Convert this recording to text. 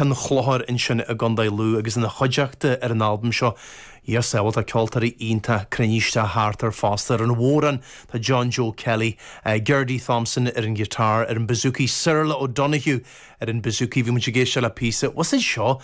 An Chlochair ansin i gContae Lú agus ina chuideachta ar an albam seo, Dia sábháil, tá ceoltóirí iontach cruinnithe isteach thart air fosta. Ar an bhodhrán tá John Joe Kelly, Gerdy Thompson ar an ghiotár, ar an bouzouki Cyril O'Donoghue ar an bouzouki. Bhí muid ag éisteacht le píosa, what's it seo?